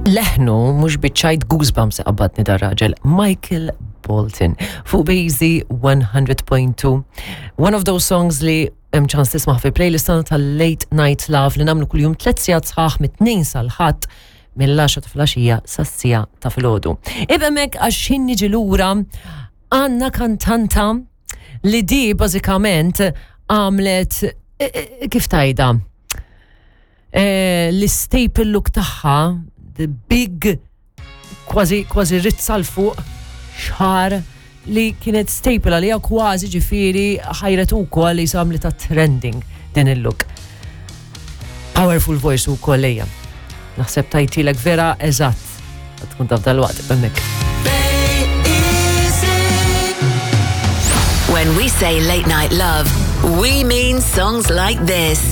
Leħnu mhux biċ-ċajt goosebumps qabadni dar-raġel Michael Bolton fuq Bazy 100.2. One of those songs li hemm ċans tisma' fil-playlist tagħna tal-Late Night Love li nagħmlu kuljum tliet sigħat sħaħ mit-tnejn sal-ħadd mill-10 ta' filgħaxija sas-siegħa ta' filgħodu. Ibhemmek għax ħin niġi lura għandna kantanta li di bażikament għamlet eh, eh, kif tajda eh, l-staple look tagħha, the big kważi kważi rizza l fuq xħar li kienet staple għalija kważi ġifieri ħajret ukoll li samli ta' trending din il-look. Powerful voice ukoll lejja. Naħseb tajtilek vera eżatt. Tkun taf dal-waqt hemmhekk. When we say late night love, we mean songs like this.